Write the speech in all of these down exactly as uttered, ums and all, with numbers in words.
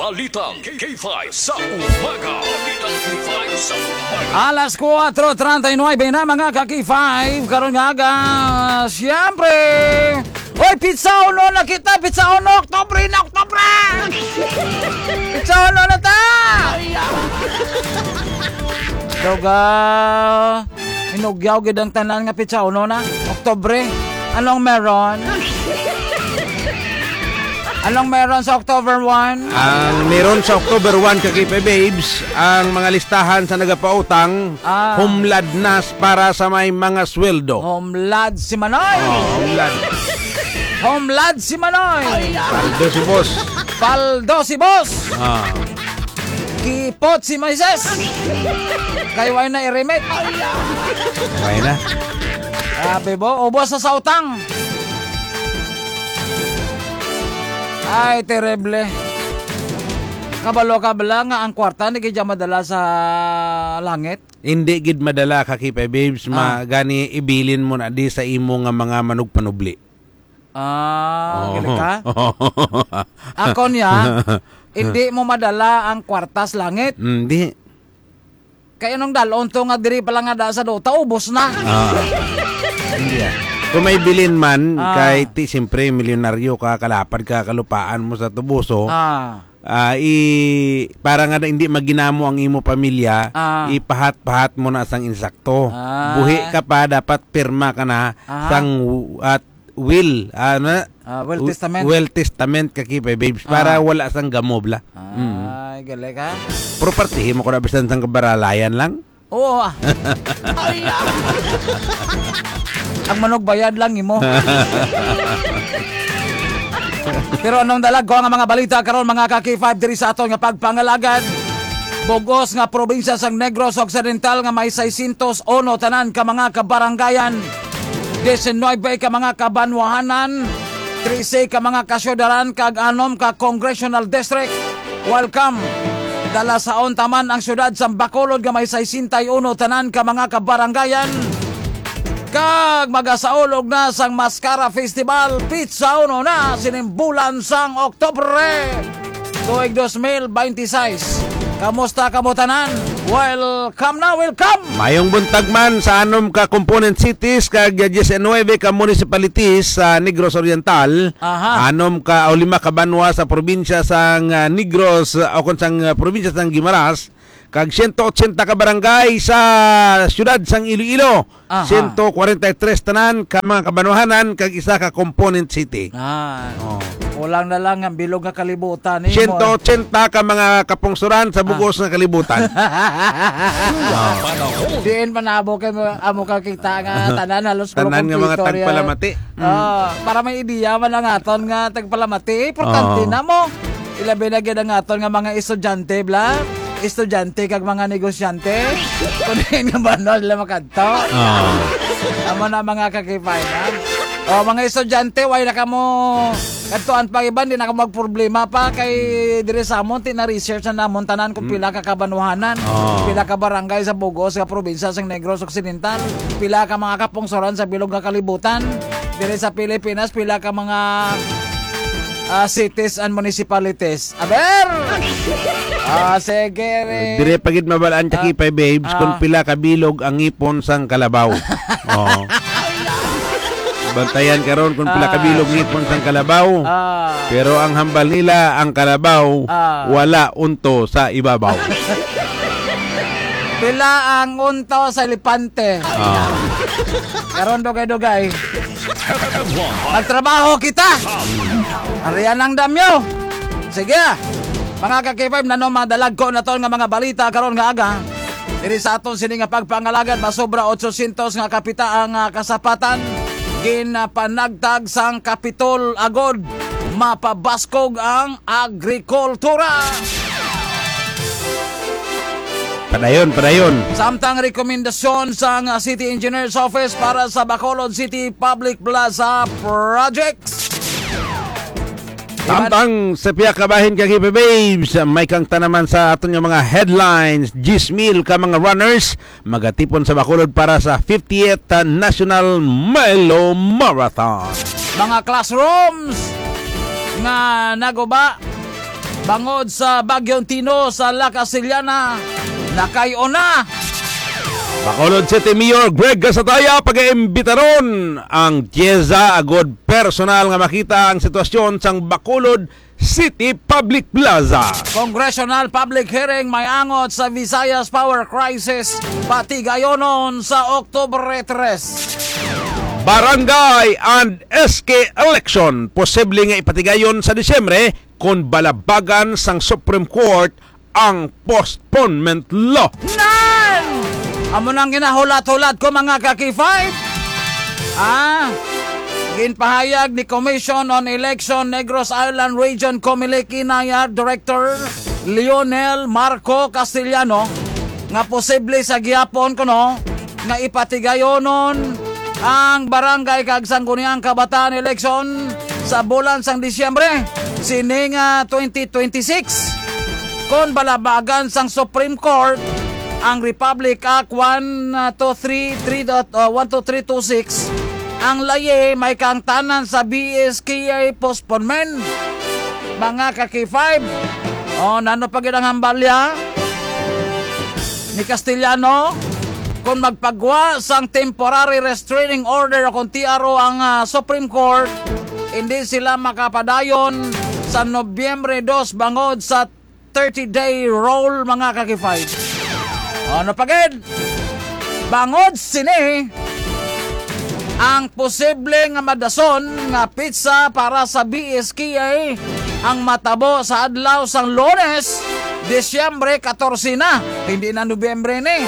Balitang K five sa umaga. Balitang K five sa umaga. Alas kuwatro treinta y nueve na, mga ka-K five. Karon nga aga, siyempre, oy, pizza uno na kita, pizza uno, Oktubre na, Oktubre! Pizza uno na ta! Doga, inugyaw gid ang tanan nga pizza uno na, Oktubre. Anong meron? Anong meron sa October one? Ang meron sa October one, ka-K five Babes, ang mga listahan sa nagapautang, Ah. humlad nas para sa may mga sweldo. Humlad si Manoy! Oh, humlad. Humlad si Manoy! Paldo si boss. Paldo si boss! Ah. Kipot si Moises! Kay way na i-remit. Way na. Grabe, bo. Ubos sa sautang. Ay, terrible. Kabalo ka bala nga ang kwarta hindi gid madala sa langit? Hindi gid madala, ka-K five Babes, Ah. ma-, gani ibilin mo na di sa imo nga mga manugpanubli. Ah, Oo. gali ka? Ako niya, hindi mo madala ang kwarta sa langit. Hindi. Kay anong dalon to nga diri pa lang nga da sa Dota, ubos na. Ah. Hindi, ah. Kung may bilin man, Ah. kay ti, siyempre, milyonaryo ka, kalapad ka, kalupaan mo sa tubuso. Ah. Ah, i-, para nga na hindi maginamo ang imo pamilya, Ah. ipahat-pahat mo na sang insakto. Ah. Buhi ka pa, dapat pirma ka na Aha. sang w-, at will, ano? Ah, will W-, testament. will testament, ka-K five Babes, para Ah. wala sang gamo bala. Mm. Ay, galing, ha? Pero partihin mo ko na bisan sang kabaralayan lang. Oo, ah. Ay, ah. Ang manugbayad lang imo. Pero anong dalagko nga mga balita karon, mga ka-K five, diri sa aton nga pagpangalagad? Bugos nga probinsya sang Negros Occidental nga may seiscientos uno tanan ka mga kabarangayan, diecinuebe ka mga kabanwahanan, trese ka mga kasyudaran, kag anom ka congressional district. Welcome. Dala sa unta man ang siyudad sa Bacolod nga may sesenta y uno tanan ka mga kabarangayan. Kag magasaulog na sang Mascara Festival, pizza uno na sining bulan sang Oktubre, tuig dos mil binte y seis. Kamusta kamo tanan? Welcome na, welcome! Mayong buntag man sa anom ka component cities kag diecinuebe ka municipalities sa Negros Oriental, Aha. anom ka o lima ka banwa sa probinsya sang, ah, Negros, ah, o kon sang, ah, probinsya sang Guimaras, kag siyento otsenta ka barangay sa siyudad sang Iloilo, Aha. siyento kwarenta y tres tanan ka mga kabanwahanan, kag isa ka component city. Ah. Oh. Kulang na lang ang bilog nga kalibutan, eh, Siyento otsenta ka mga kapungsoran sa Ah. bugos nga kalibutan. Oh. Diin pa na amo kay amo ka kita nga tanan halos Tanan nga mga kumpleto, ya. tagpalamati. Mm. Ah, para may ideya man ang aton nga tagpalamati, importante Oo. na mo. Ilabi na gid ang aton nga mga estudyante, bla. Estudyante kag mga negosyante. Kung di nga ba, no, sila makadto? Oo. Amo na, mga ka-K five, ha? O, mga estudyante, way na kamo kadtuan pa iban, di na kamo magproblema pa kay diri sa amon, ti na-research na namon tanan kung Mm. pila ka kabanwahanan, Oo. pila ka barangay sa bugos nga probinsya sang Negros Occidental, pila ka mga kapungsoran sa bilog nga kalibutan, diri sa Pilipinas, pila ka mga, ah, cities and municipalities. Aber! Ah, sige, re. Dire pa gid mabalaan ka, Ah. Kipay, babes, kung Ah. pila ka bilog ang ngipon sang kalabaw. Oh. Bantayan karon kung pila ka Ah. bilog ngipon sang kalabaw. Ah. Pero ang hambal nila, ang kalabaw, Ah. wala unto sa ibabaw. Pila ang unto sa elepante? Ah. Karon, dugay-dugay. Magtrabaho kita. Arian ang damyo. Sige. Mga ka-K five, nano madalagko na to nga mga balita karon nga aga. Diri sa aton sini nga pagpangalagad, masobra otsosyentos nga kapita ang, ah, kasapatan. Ginapanagtag sang Kapitol agod mapabaskog ang agrikultura. Padayon, padayon. Samtang rekomendasyon sang City Engineer's Office para sa Bacolod City Public Plaza Projects. Samtang sa pihak ka bahin, ka-K five babes, may kangta naman sa aton nga mga headlines. Diyes mil ka mga runners magatipon sa Bacolod para sa fiftieth National Milo Marathon. Mga classrooms nga naguba bangod sa Bagyong Tino sa La Castellana, nakayo na. Bacolod City Mayor Greg Gasataya pag-iimbitaron ang Tieza agud personal nga makita ang sitwasyon sang Bacolod City Public Plaza. Congressional public hearing may angot sa Visayas power crisis, patigayonon sa Oktubre tres. Barangay and S K election posible nga ipatigayon sa Disyembre kon balabagan sang Supreme Court ang postponement law. Nan! Amo nang ginahulat-hulat ko, mga ka-K five. Ah, ginpahayag ni Commission on Election Negros Island Region, Comelec, Inayat Director Lionel Marco Castellano nga posible sa gihapon kuno nga ipatigayonon ang barangay kag sangguniang kabataan election sa bulan sang Disyembre sining, ah, twenty twenty-six. Kon balabagan sang Supreme Court ang Republic Act one two three three dot, uh, one two three two six, ang layi may kaangtanan sa B S K I postponement. Mga ka-K five, oh, nano pa gid ang hambalya ni Castellano? Kung magpagwa sang temporary restraining order o kung T R O ang, ah, Supreme Court, hindi sila makapadayon sa Nobyembre dos bangod sa thirty-day rule, mga ka-K five. Ano pa gid? Bangod sini, ang posible nga madason nga petsa para sa B S K I ang matabo sa adlaw sang Lunes, Disyembre katorse na. Hindi na Nobyembre ni.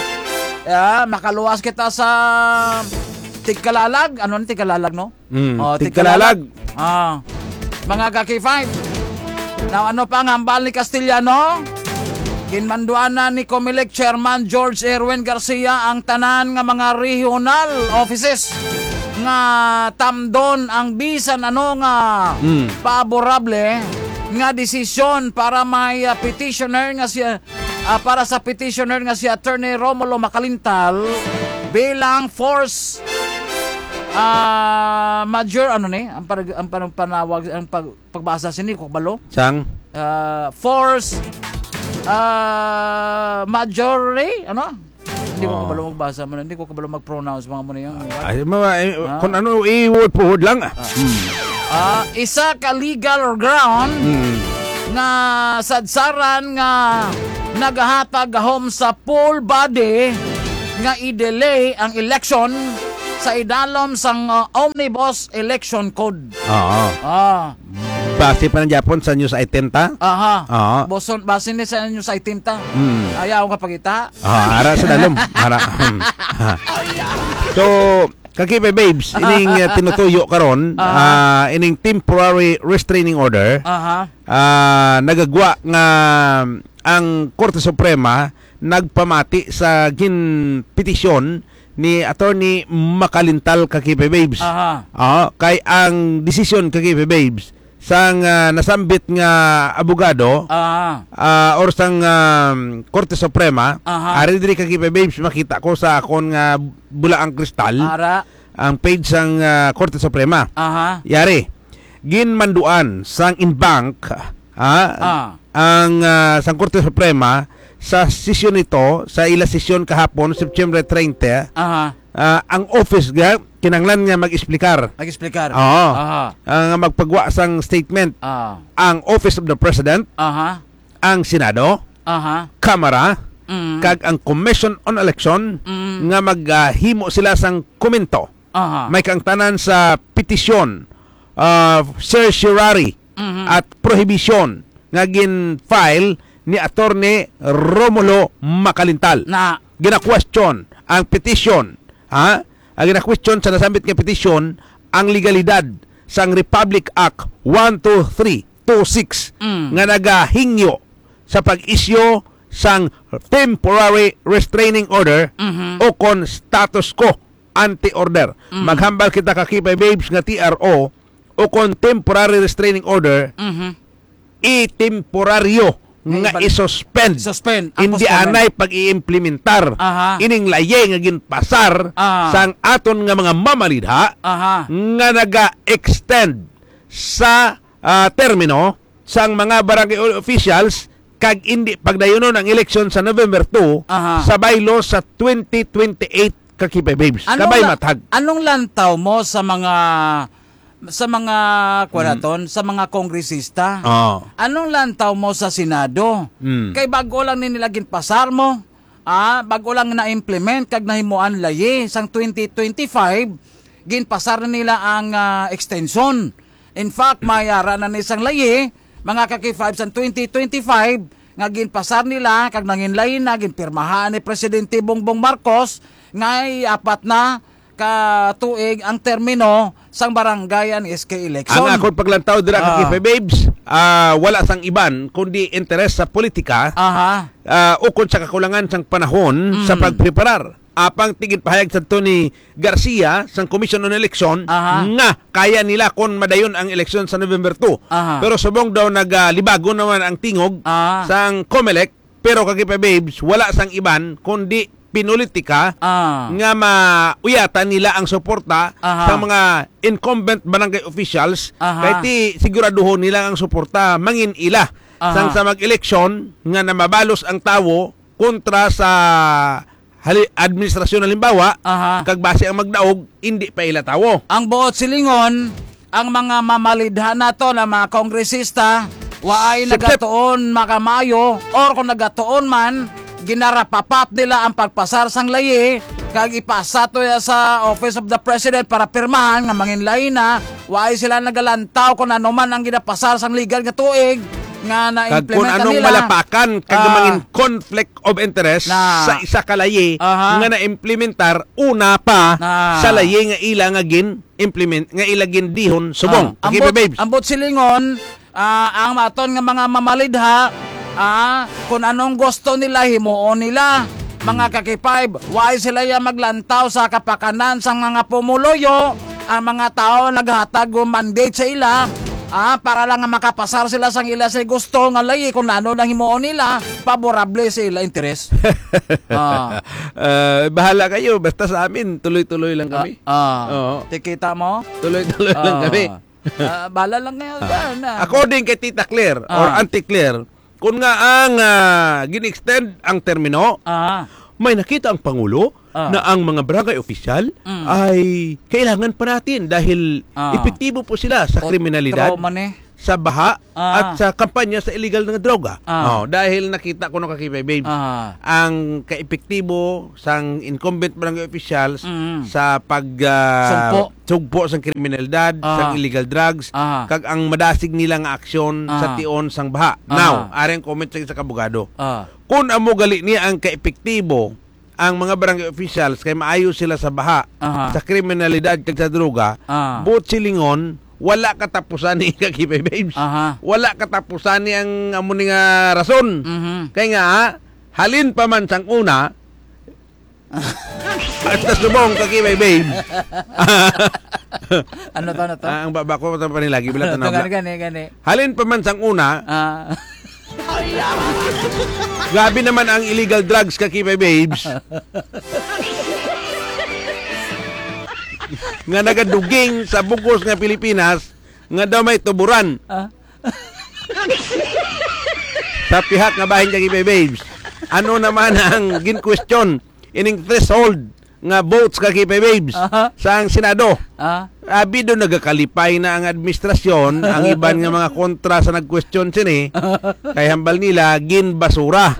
Ah, makaluwas kita sa tigkalalag. Ano ni tigkalalag, no? Mm, Oh, tigkalalag. tigkalalag. Ah. Mga ka-K five. Now, ano pa ang hambal ni Castellano? Ginmanduan na ni Comelec Chairman George Erwin Garcia ang tanan nga mga regional offices nga tamdon ang bisan ano nga Mm. paborable nga desisyon para may, ah, petitioner nga siya, ah, para sa petitioner nga si Attorney Romulo Macalintal bilang force, ah, major, ano ni? Ang parag-, ang parang panawag, ang pag-, pagbasa sini, ko kabalo? Sang? Ah, force, ah, majore, ano? Hindi ko Oh. kabalo magbasa man, hindi ko kabalo mag-pronounce, mga mo na yun. Ay, mga, eh, Ah. kung ano, i-word for word lang. Ah. Hmm. Ah, isa ka legal ground Hmm. nga sadsaran nga nagahatag gahom sa full body nga i-delay ang election sa idalom sang, ah, Omnibus Election Code. Oo. Ah. Base pa ng Japon sa news item ta? Aha. Oo. Boson, base ni sa news item ta. Hmm. Ayaw nga pagita. Ah, ara sa dalom. Ara. So, ka-K five Babes, ining, uh, tinutuyo karon, Aha. ah, ining temporary restraining order, Aha. ah, nagagwa nga ang Korte Suprema nagpamati sa ginpetisyon ni Attorney Macalintal, ka-K five Babes. Aha. Ah, kay ang desisyon, ka-K five Babes, sang, ah, nasambit nga abogado, Ah. ah, or sang, ah, Korte Suprema, Aha. ari diri, ka-K five Babes, makita ko sa akon nga bulaang kristal, Ara. ang page sang, ah, Korte Suprema. Aha. Yari, ginmanduan sang en banc, ah, Ah. ang, ah, sang Korte Suprema sa sesyon nito, sa ila sesyon kahapon, September treinta, Aha. ah, ang office nga kinahanglan nga mag-explicar. Mag-explicar. Oo. Aha. Ah, nga magpagwa sang statement. Ah. Ang Office of the President, Aha. ang Senado, Aha. Kamara, Mm. kag ang Commission on Election Mm. nga maghimo sila sang komento. Aha. May kaangtanan sa petisyon, ah, certiorari Mhm. at prohibition nga gin-file ni Attorney Romulo Macalintal. Na. Gina-question ang petisyon, ha? Ang gina-question sa nasambit nga petisyon ang legalidad sang Republic Act one two three two six Mm. nga nagahingyo sa pag-isyu sang temporary restraining order Mhm. o kon status quo ante order. Mm. Maghambal kita, ka-K five Babes, nga T R O o kon temporary restraining order, Mhm. i-temporaryo Nga nga ibal-, i-suspend. Suspend ang Hindi postponement. anay pag-iimplementar Aha. ining layi nga ginpasar Ah. sang aton nga mga mamalidha Aha. nga naga-extend sa, ah, termino sang mga barangay o-, officials kag indi pagdayunon ang eleksyon sa November two Aha. sa bylaw sa twenty twenty-eight ka K five Babes. Anong Kabay la-, mathag. anong lantaw mo sa mga, sa mga, kuwan Mm. naton, sa mga kongresista? Oo. Anong lantaw mo sa Senado? Mm. Kay bago lang ni nila ginpasar mo, ah, bago lang na-implement kag nahimuan layi sang twenty twenty-five, ginpasar na nila ang, ah, extension. In fact, mayara na ni sang layi, mga ka-K five, sang twenty twenty-five, nga ginpasar nila kag nanginlayi na, ginpirmahan ni Presidente Bongbong Marcos nga apat na ka tuig ang termino sang barangay and S K election. Ang akon paglantaw dira ka Ah. K five Babes, ah, wala sang iban kundi interes sa politika, Aha. ah, ukon sa kakulangan sang panahon sa Mm. pagpreparar. Apang ti ginpahayag sadto ni Garcia sang Commission on Election Aha. nga kaya nila kon madayon ang eleksyon sa November two. Aha. Pero subong daw nagalibago naman ang tingog Ah. sang Comelec, pero ka K five Babes, wala sang iban kundi pinulitika Ah. nga mauyatan nila ang suporta Aha. sa mga incumbent barangay officials, Aha. kay ti siguraduhon nila ang suporta mangin ila Aha. sang sa mag-eleksyon nga namabalos ang tawo kontra sa hali-, administrasyon, halimbawa, Aha. kag basi ang magdaog, indi pa ila tawo. Ang buot silingon, ang mga mamalidha nato na mga kongresista, waay Sip, sip. nagatuon makamaayo, or kung nagatuon man, ginarapapat nila ang pagpasar sang layi, kag ipasa to ya sa Office of the President para pirmahan nga manginlayi na, waay sila nagalantaw kung ano man ang ginapasar sang legal nga tuig nga Kag kung na-implement na anong nila. malapakan, kag Ah. mangin conflict of interest Na. sa isa ka layi Aha. nga na-implementar una pa Na. sa layi nga ila nga gin-implement, nga ila gindihon subong. Ah, Ka K five ambot, Babes. ambot silingon, ah, ang aton nga mga mamalidha, ah, kung anong gusto nila, himuon nila. Mga ka K five, why sila ya maglantaw sa kapakanan sang mga pumuluyo? Ang mga tawo naghatag og mandate sa ila, ah, para lang nga makapasar sila sang ila sa gusto nga layi kung ano nang himuon nila, favorable sa ila interes. Ah. Ah, bahala kayo. Basta sa amin, tuloy-tuloy lang kami. Ah, ah. Oo. Tikita mo? Tuloy-tuloy lang Ah. kami. Ah, bahala lang kayo Ah. dyan, ah. According kay Tita Claire or Ah. Auntie Claire, kung nga ang, ah, gin-extend ang termino, Ah. may nakita ang Pangulo Ah. na ang mga barangay opisyal Mm. ay kailangan pa natin dahil Ah. epektibo po sila sa Ot-, kriminalidad, trauma ni. sa baha, Ah. at sa kampanya sa illegal nga droga. Ah. Oh, dahil nakita ko, no, ka K five Babes, Ah. ang kaepektibo sang incumbent barangay officials Mm. sa pag, ah, Sugpo. sugpo sang kriminalidad, Aha. sang illegal drugs, Aha. kag ang madasig nila nga aksyon sa Aha. tion sang baha. Aha. Now, ari ang comment sa isa ka abogado. Ah. Kung amo gali niya ang kaepektibo, ang mga barangay officials kay maayo sila sa baha, Aha. sa kriminalidad, kag sa droga, Ah. buot silingon, wala katapusan ni ka K five Babes. Aha. Wala katapusan ni ang amo ni nga rason. Mhm. Kay nga, halin pa man sang una, Hasta subong ka K five Babes. Ano to, ano to? Ah, ang baba ko, matang panilagi, bila Ano to, tanaw, gani, bila. gani, gani. Halin pa man sang una, Ah. grabe naman ang illegal drugs ka K five Babes. Nga nagaduging sa bugos nga Pilipinas, nga daw may tuburan. Ah. Sa pihak nga bahin ka K five Babes. Ano naman ang gin-question? Ining threshold nga votes ka K five Babes Aha. sa ang Senado. Ah. Abi do nagakalipay na ang administrasyon, ang iban nga mga kontra sa nag-question sini, kay hambal nila, ginbasura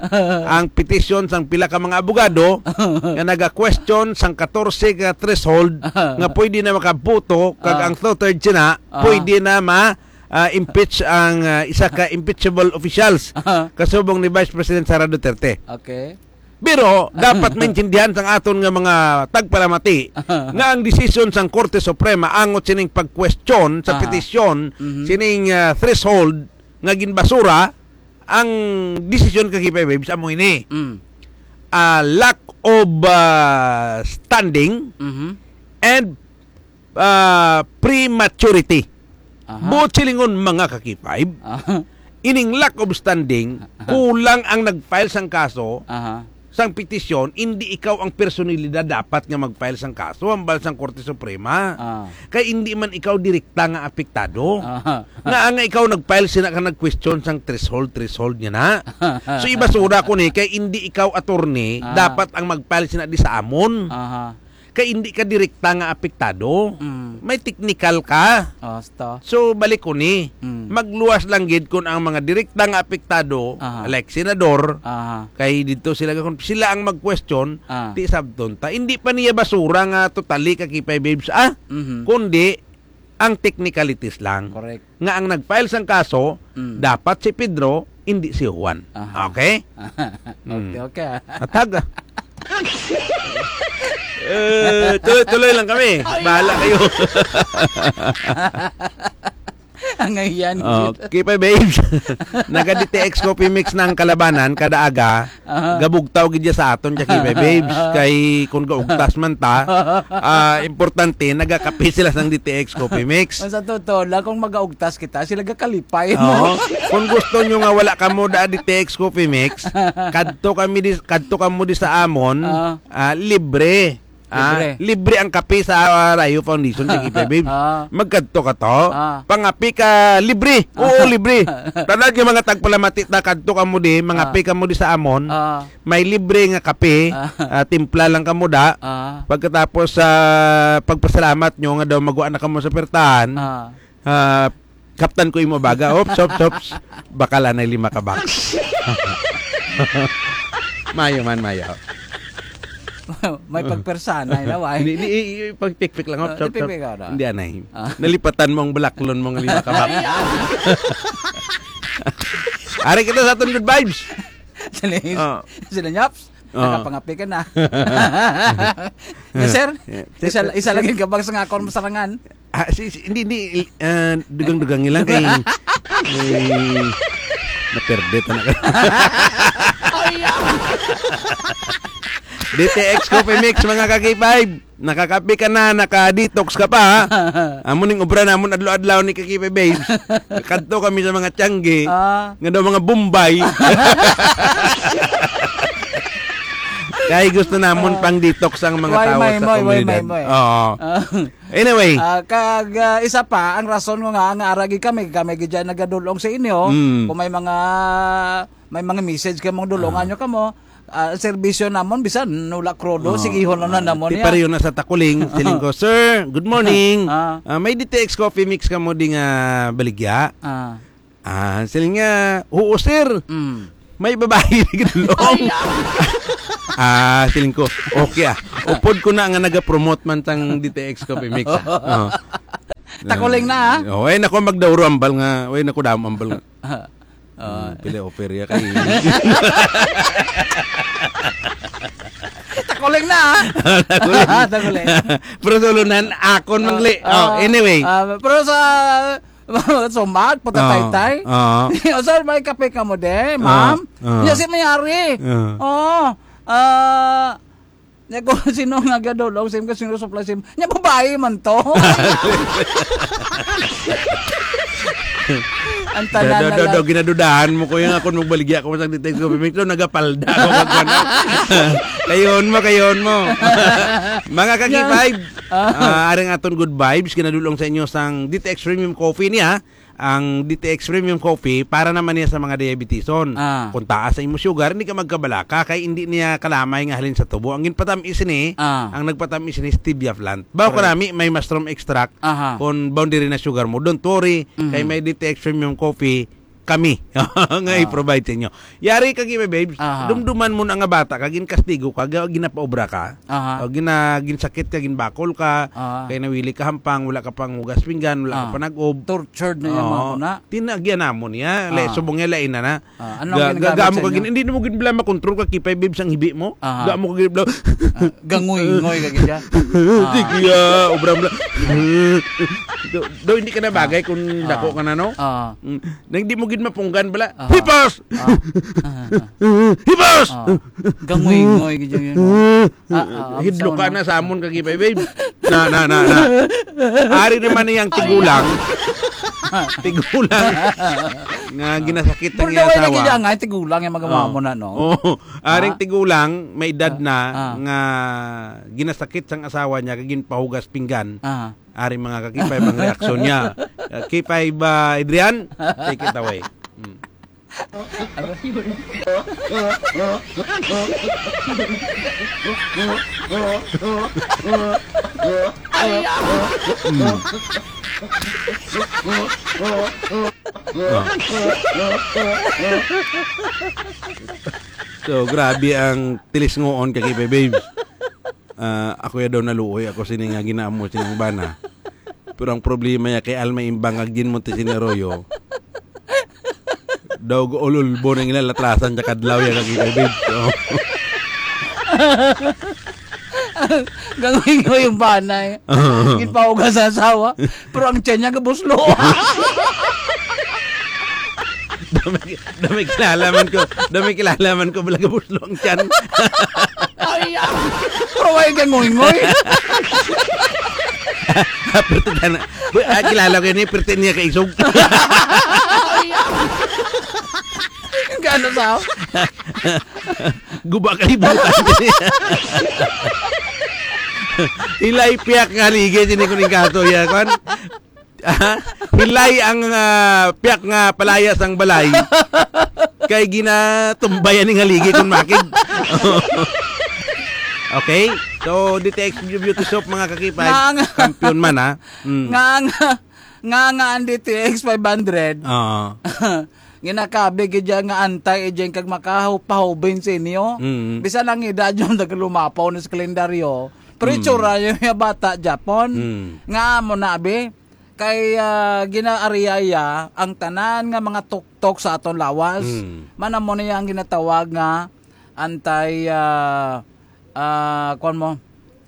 ang petisyon sang pila ka mga abogado nga naga-question sang katorse ka threshold nga pwede na makaboto, kag Ah. ang two-thirds sina Ah. pwede na ma, ah, impeach ang, ah, isa ka impeachable officials, Aha. kasubong ni Vice President Sara Duterte. Okay. Pero dapat maintindihan sang aton nga mga tagpalamati nga ang desisyon sang Korte Suprema angot sining pag-question sa Aha. petisyon Mhm. sining, ah, threshold nga ginbasura, ang desisyon ka K five Babes amo ini. Mm. Ah, lack of, ah, standing Mhm. and ah, prematurity. Aha. Buot silingon, mga ka K five, Aha. ining lack of standing, Aha. kulang ang nag-file sang kaso Aha. sang petisyon, indi ikaw ang personalidad dapat nga mag-file sang kaso hambal sang Korte Suprema. Ah. Kay indi man ikaw direkta nga apektado. Ah. Nga nga ikaw nag-file sina ka nag-question sang threshold, threshold niya na. So, ibasura ko ni, kay indi ikaw attorney, Ah. dapat ang mag-file sina di sa amon. Aha. Kay indi ka direkta nga apektado. Mm. May technical ka. Hasta. So, balik ko ni. Mm. Magluwas lang gid kung ang mga direkta nga apektado, Aha. like senador, Aha. kay dito sila, sila ang mag-question, Ah. ti sabton ta. Hindi pa niya basura nga totally ka Kipay Babes, ah? Mhm. Kundi, ang technicalities lang. Correct. Nga ang nag-file sang kaso, Mm. dapat si Pedro, hindi si Juan. Aha. Okay? Okay, Mm. okay, ah. Atag, ah. Eh, tuloy-tuloy lang kami. Bahala kayo. Ang ayan. Oh, Kipay Babes. Naga D T X Coffee Mix na ang kalabanan kada aga. Aha. Gabugtaw gid siya sa aton, Jackie Bay Babes. Aha. Kay kung gaugtas man ta, ah, importante, nagakape sila sang D T X Coffee Mix. Ang sa totoo lang, kung magaugtas kita, sila gakalipay. Oo. Kung gusto nyo nga wala kamo da D T X Coffee Mix, kadto kami di, kadto kamo di sa amon, Ah. ah, libre. Ah, Libre. libre ang kape sa, ah, Rayo Foundation, Jackie Bay Babes. Ah. Magkadto ka to, Ah. pangape ka libre. Oo, Ah. libre. Tanan yung mga tagpalamati ta, kadto kamo di, mangape Ah. kamo di sa amon. Ah. May libre nga kape, Ah. ah, timpla lang kamo da. Ah. Pagkatapos sa pagpasalamat nyo nga daw magwa na kamo sa pertahan, Ah. ah, kaptan ko imo baga. Ops, ops, ops. Bakal anay lima ka box. Mayo man, mayo. May pagpersana, ina, why? Hindi, hindi, i-, i-, pagpikpik lang, ops, Ah, ops, ops. tipik ka na. Hindi, anay. Ah. Nalipatan mo ang balaklon mo nga lima ka box. Ari kita sa aton good vibes. Sila, Oh. sila, Nyaps. Oh. Nakapangapi ka na. Nga, sir, Yeah. isa, isa lagi ka bang sa nga akon masarangan? Ah, si, si, hindi, hindi, ah, dugang-dugang lang kay, kay, naperde ta na ka. D T X Coffee Mix, mga ka-K five. Nakakape ka na, naka-detox ka pa, ha? Amo ning obra namon adlaw-adlaw ni Kakipe Babes. Kadto kami sa mga tiyangge, Ah. nga daw mga Bombay. Kay gusto namon Ah. pang detox ang mga Way, tao may, sa may, way, komunidad. may, may. Oo. Ah. Anyway. Ah, kag, ah, isa pa, ang rason ko nga, nga aragi kami, kami gid dyan nagadulong sa inyo, Mm. kung may mga, may mga message ka mong dulungan Ah. nyo kamo, ah, serbisyo namon, bisan wala krudo, Oh, sigihon lang na ah, namon ti niya. Pareho na sa Takuling, siling ko, "Sir, good morning. Ah. Ah, may D T X Coffee Mix ka mo di nga baligya?" Ah. Ah, siling nga, "Oo, sir. Mm. May babae na gidulong." Ay, ah. Ah, siling ko, "Okay, ah. Upod ko na nga nagapromote man tang D T X Coffee Mix, ah." Oh. Takuling na, ah. Oh, ay, nako, magdauro ambal nga. Ay, nako, damo ambal nga. Ah. Ah. Hmm, pila offer ya kay Takuling na, ah. Takuling. Takuling. Pero sulunan, akon mangli. Ah, Oh, ah, anyway. ah, pero sa, sumat, patataytay. Ah, ah. Oh, sir, may kape ka mo, de, Ah, ma'am? ah. Yes, si Mayari. Ah. Oh, ah, Nya ko, sino nga gadulong sim ka, sino supply sim? Nya babae man to. Ang tanan Do, do, na do, lang. do, ginadudahan mo ko yung akon magbaligya ko sa D T X Coffee Mix, do, nagapalda ako kag ano. Kayon mo, kayon mo. Mga ka-K five, Yan. Ah. ah, aring aton good vibes, ginadulong sa inyo sang D T X Premium Coffee niya. Ang D T X Premium Coffee para naman niya sa mga diabetison. Ah. Kung taas sa imo sugar, hindi ka magkabalaka kay hindi niya kalamay nga halin sa tubo. Ang ginpatamis ni, Ah. ang nagpatamis ni stevia plant. Bawo Correct. kanami may mushroom extract Aha. kung boundary na sugar mo. Don't worry, Mhm. kay may D T X Premium Coffee kami nga Ah. i-provide sa inyo. Yari ka, Gibe Babes, Aha. dumduman mo na nga bata ka, ginkastigo ka, ga-, ginapaobra ka, Aha. o gina-, ginsakit ka, ginbakol ka, Aha. kay nawili ka hampang, wala ka pang hugas pinggan, wala ka Ah. pa nag-ob. Tortured na yung mga Oo. kuna. Tinagyan namon niya. Le, Ah. subong niya, lain na na. Ah, anong Ga-, ginagamit ga-, mo sa ka inyo? gin-, hindi mo gid bala makontrol ka, Kipay Babes, ang hibi mo. Aha. Ga mo ka gid bala. Ah, gangoy-ngoy ka gid siya. Ah. Sige, ah, obra mo lang. Do, do, hindi ka na bagay Ah. kung Ah. dako ka na, no? Ah. Mm. Nang di mo gid mapunggan bala. Aha. Hipos! Ah. Ah, ah, ah. Hipos! Ah. Gangoy-ngoy gid yun, yun. Ah, ah, Hidlo ka sa na sa amon kag Kipay Babes. Na, na, na, na. Ari naman niyang tigulang. Tigulang nga ginasakit ang Pero iyang naway asawa. Lagi dyan nga, tigulang yung mga Ah. mamo na, no? Oo. Aring Ah. tigulang, may edad Ah. na, Ah. nga ginasakit sang asawa niya, kag ginpahugas pinggan. Ah. Ari mga ka-K five ang reaksyon niya. Uh, K five, uh, Adrian, take it away. Mm. Mm. Ah. So, grabe ang tilis ngoon ka, K five Babes. Ah, ako ya daw naluoy ako sini nga ginaamo sining bana. Pero ang problema ya kay Alma Imbang kag Jean Montesino Arroyo, daw ululbo na nila latrasan sa kadlaw ya kag K five Babes. So, Gangoy-ngoy yung bana eh. Ginpahugas sa asawa, pero ang tiyan niya gabuslo. Dami, dami kilala man ko, dami kilala man ko, bala gabuslo ang tiyan. Ay, ah. Pero why ka ngoy-ngoy? Pero tana, bu-, ah, kilala ko yun eh, pero niya kaisog. Ay, ah. Ang gano'n sa Guba kalibutan. Hilay piyak nga haligi, sini ko ning kaso, ya, kwan. Ah, hilay ang, ah, piyak nga palaya sang balay. Kay ginatumbayan ning haligi kung makig. Okay? So, D T X Beauty Soap, mga ka-K five, Nga ang kampiyon man, ha? Mm. Nga ang, nga nga ang D T X five hundred. Oo. Ginakabi gid dyan nga antay-aging kag makapahubin sa inyo. Mm. Bisan ang edad yung nagalumapaw na sa kalendaryo, pero Mm. itsura yung mga bata Japon. Mm. Nga mo na, abi, kay, ah, ginaariyaya ang tanan nga mga tuktok sa aton lawas. Mm. Manamo niya ang ginatawag nga anti, ah, ah, kuwan mo,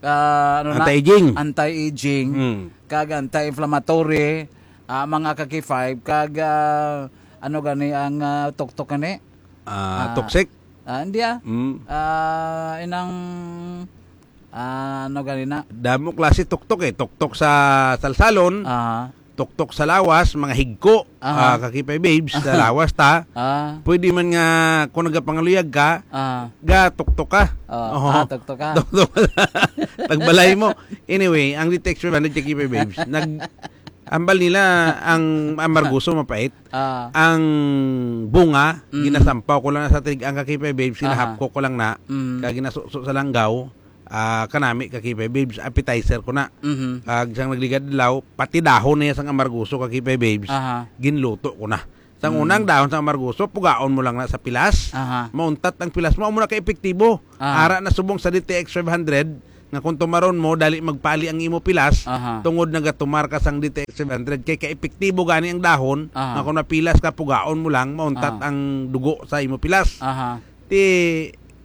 ah, ano na? Anti-aging. Anti-aging, Mm. kag anti-inflammatory, ah, mga ka-K five, kag, ah, ano gani ang, ah, tuktok gani? Ah, Ah, toxic? ah, hindi, ah. Mm. Ah, inang, ah, ano gani na? Damo klase tuktok eh. Tuktok sa salsalon, Ah. tuktok sa lawas, mga higko, Aha. ah, ka-K five Babes, sa lawas ta. Ah. Pwede man nga, kung nagapangaluyag ka, Ah. ga tuktok ka. Oh, Oo. ah, tuktok ka. Tuktok. Pagbalay mo. Anyway, ang D T X five hundred ka-K five Babes, nag-, ambal nila ang amargoso mapait. Ah. Ang bunga, Mm. ginasampaw ko lang sa tinig ang ka-K five Babes, Aha. ginahapko ko lang na, Mm. kag ginasuso sa langgaw, ah, kanami ka-K five Babes, appetizer ko na. Mhm. Kag sang nagligad adlaw, pati dahon niya sang amargoso ka-K five Babes, Aha. ginluto ko na. Sang Mm. unang dahon sang amargoso, pugaon mo lang na sa pilas. Aha. Mauntat ang pilas mo, amo na ka-epektibo. Ah. Ara na subong sa D T X five hundred, nga kung tumaron mo, dali magpali ang imo pilas, Aha. tungod nagatumar ka sang D T X five hundred. Kay ka-epektibo gani ang dahon, Aha. nga kung mapilas ka, pugaon mo lang, mauntat Ah. ang dugo sa imo pilas. Aha. Ti,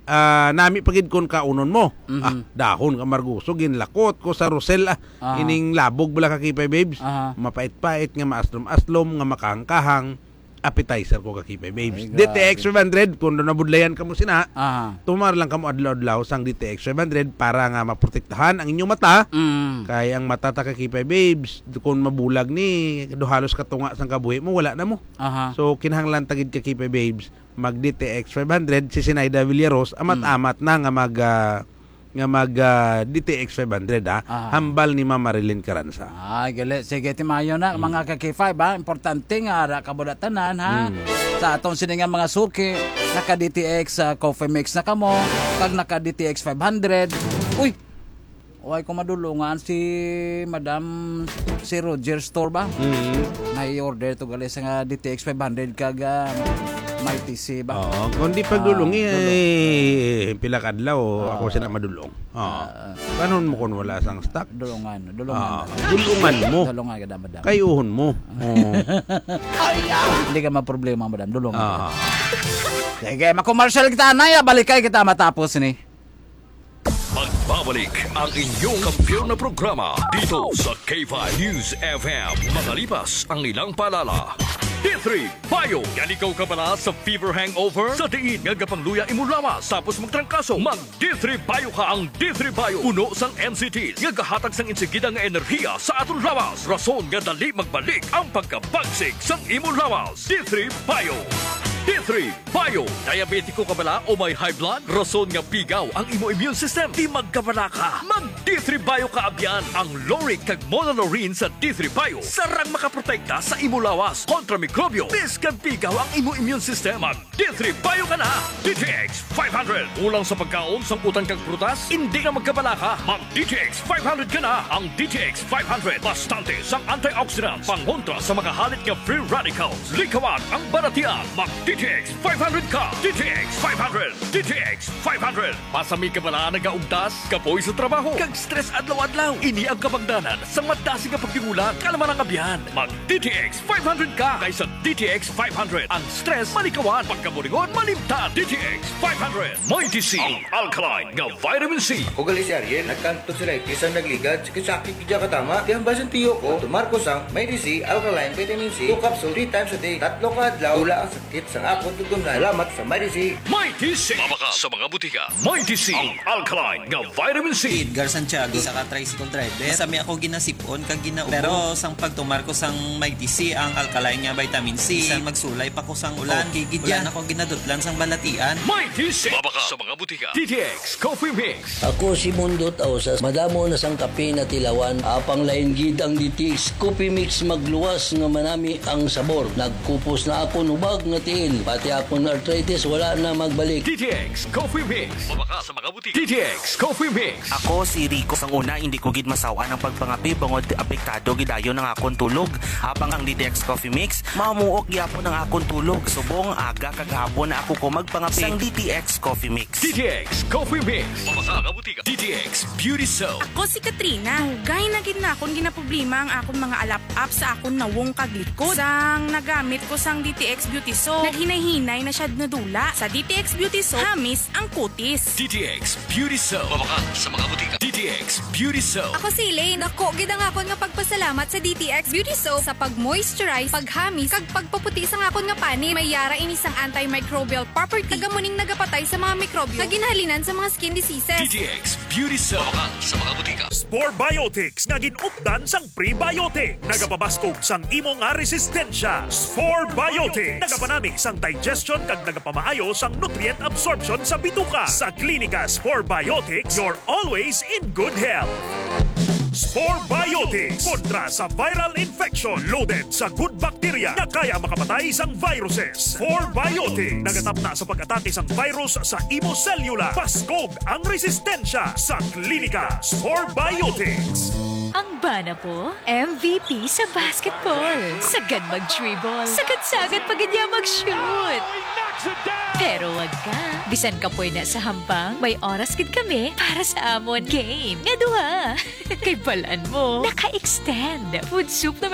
ah, nami pa gid kon kaunon mo. Mhm. Ah, dahon ka amargoso, ginlakot ko sa Rosel, ah, Ah. ining labog bala ka-K five Babes. Aha. Mapait-pait nga maaslom-aslom, nga makahang-kahang, appetizer ko ka-K five Babes. Ay, D T X grabe. five hundred, kung doon nabudlayan ka mo sina, Aha. tumar lang ka mo adlaw-adlaw sang D T X five hundred para nga maprotektahan ang inyong mata. Mm. Kay ang mata ta ka-K five Babes, kung mabulag ni, do halos katunga sang kabuhi mo, wala na mo. Aha. So, kinahanglan ta gid ka-K five Babes, mag D T X five hundred, si Sinaida Villaros, amat-amat na nga mag, ah, nga mag, ah, D T X five hundred, ha? Ah. Hambal ni Ma'am Marilyn Caranza. Ah, gali. Sige, timayo na, Mm. mga ka-K five, ha? Importante nga ara ka mo na tanan, ha? Mm. Sa atong sini nga mga suki, naka-D T X, ah, coffee mix na kamo, kag naka-D T X five hundred. Uy! Way ko madulungan si Madam, si Roger Store ba? Mm. Na i-order to gali sa nga D T X five hundred kag, ah, Mighty C ba? Oo, kung di pagdulungi, Ah, dulong. eh, pila ka adlaw, Ah. ako sila madulong. Oo. Ah. Panon mo kung wala sang stock? Dulungan, dulungan Ah, na. dulungan mo. Dulungan ka na, madam. Kayuhon mo. Oo. Hindi ka maproblema, madam. Dulungan ka. Ah. Sige, makomersyal kita, anay, ah. Balikay kita matapos ni. Magbabalik ang inyong kampiyon na programa dito sa K five News F M. Makalipas ang ilang paalala. D three Bio. Yan ikaw kabala sa fever hangover? Sa diin nga gapangluya imo lawas tapos magtrangkaso, mag D three Bio ka. Ang D three Bio puno sang N C T nga gahatag sang insigida nga enerhiya sa aton lawas, rason nga dali magbalik ang pagkabagsik sang imo lawas. D three Bio. D three Bio. Diabetiko ka bala o may high blood? Rason nga pigaw ang imo immune system. Di magkabala ka. Mag D three Bio ka abyan. Ang lauric kag monolaurin sa D three Bio sarang makaprotekta sa imo lawas kontra mikrobyo. Bisan pigaw ang imo immune system, mag D three Bio ka na. D T X five hundred. Kulang sa pagkaon, sangkutan kag prutas? Hindi na magkabala ka. Mag D T X five hundred ka na. Ang D T X five hundred, bastante sang antioxidants, pangontra sa mga halit nga free radicals. Likawan ang balatian. Mag D T X five hundred ka. D T X five hundred. D T X five hundred. Pasami ka bala nagaugtas, kapoy sa trabaho, kag stress adlaw-adlaw? Ini ang kabangdanan sang madasig nga pagtingulang. Kalma lang, abyan. Mag D T X five hundred ka, kay sa D T X five hundred, ang stress malikawan, pagkaburingon malimtan. D T X five hundred. Mighty C, ang alkaline nga vitamin C. Ako gali si Ariel, nagkantog sa lightis ang nagligad, sakit-sakit gid katama. Kaya ang basin tiyo ko, tumar ko sang Mighty C, alkaline vitamin C, two capsule, three times a day, tatlo ka adlaw, wala ang sakit sa akon tutunlan. Salamat sa Mighty C. Mighty C. Mabakal sa mga butika. Mighty C, ang alkaline nga vitamin C. Edgar Santiago, isa ka tricycle driver. Masami ako ginasipon kag ginaubo. Pero sang pagtumar ko sang Mighty C, ang alkaline nga vitamin C, bisan magsulay pa ko sang ulan, okay gid yan. Wala na ko ginadutlan sang balatian. Mighty C. Mabakal sa mga butika. D T X Coffee Mix. Ako si Mundo Tausas. Madamo na sang kape na tilawan. Apang lain gid ang D T X Coffee Mix, magluwas nga manami ang sabor. Nagkupos na akon hubag nga tiil. Pati akon arthritis wala na magbalik. D T X Coffee Mix. Mabakal sa mga butika. D T X Coffee Mix. Ako si Rico. Sang una, hindi ko gid masaw-an ang pagpangape bangod apektado gid dayon ang akon tulog. Apang ang D T X Coffee Mix, mamuok gyapon ang akon tulog. Subong aga kag hapon na ako ko magpangape. Sang D T X Coffee Mix. D T X Coffee Mix. Mabakal sa mga butika. D T X Beauty Soap. Ako si Katrina. Dugay na gid na akon ginaproblema ang akon mga alap-ap sa akon nawong kag likod. Sang nagamit ko sang D T X Beauty Soap, naghinay-hinay na siya nadula. Sa D T X Beauty Soap, hamis ang kutis. D T X Beauty Soap. Mabakal sa mga butika. D T X Beauty Soap. Ako si Elaine. Dako gid ang akon nga pagpasalamat sa D T X Beauty Soap sa pag-moisturize, paghamis, kag pagpaputi sang akon nga panit. May yara ini sang antimicrobial property, kag amo ning nagapatay sa mga mikrobyo nga ginhalinan sa mga skin diseases. D T X Beauty Soap. Mabakal sa mga butika. Spore Biotics nga gin-updan sang prebiotic, nagapabaskog sang imo nga resistensya. Spore Biotics nagapanami sang digestion kag nagapamaayo sang nutrient absorption sa bituka. Sa Klinika Spore Biotics, you're always in good health. Spore Biotics kontra sa viral infection, loaded sa good bacteria nga kaya makapatay sang viruses. Spore Biotics nagatapna sa pag-atake sang virus sa imo selula. Paskog ang resistensya sa Klinika Spore Biotics. Ang bana ko, M V P sa basketball. Sagad mag-dribble. Sagad-sagad pa gid niya mag-shoot. Pero wag ka. Bisan kapoy na sa hampang, may oras gid kami para sa amon game nga duha. Kay balan mo, naka-extend. Food soup naman